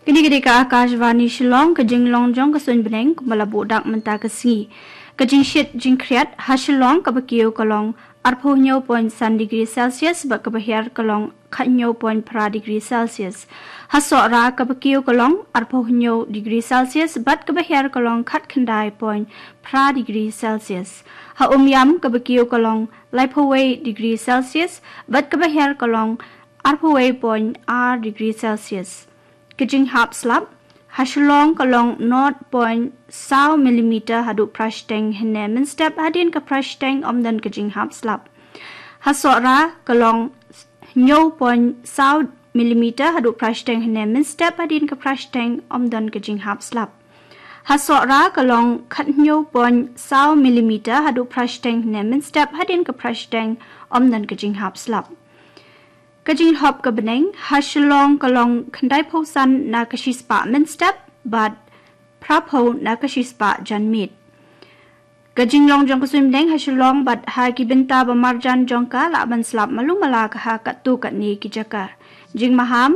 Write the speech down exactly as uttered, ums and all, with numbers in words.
Kine ki dei ka Akashvani Shillong, ka jinglong jong ka suiñ bneng kumba la buh dak mynta ka sngi. Ka jingshit jingkhriat ha Shillong kaba kiew ka long arphew hynñiew point san degree Celsius bad kaba hiar ka long khathynñiew point phra degree Celsius. Ha Sohra kaba kiew ka long arphew hynñiew degree Celsius bad kaba hiar ka long khatkhyndai point phra degree Celsius. Ha Umiam kaba kiew ka long laiphew wei degree Celsius bad kaba hiar ka long arphew wei point ar degree Celsius. Ka jinghap slap ha Shillong ka long nought point saw millimeter haduh phra shiteng hynne mynstep, hadien ka phra shiteng ym don ka jinghap slap. Ha Sohra ka long hynñiew point saw millimeter haduh phra shiteng hynne mynstep, hadien ka phra shiteng ym don ka jinghap slap. Ha Sohra ka long khathynñiew point saw millimeter haduh phra shiteng hynne mynstep, hadien ka phra shiteng ym don ka jinghap slap. Ka jinglhop ka bneng ha Shillong ka long khyndaiphew san na ka shispah mynstep bad phraphew na ka shispah janmiet. Ka jinglong jong ka suiñ bneng ha Shillong bad ha ki bynta ba marjan jong ka lah ban slap malu mala ka ha katto katne ki jaka. Jingmaham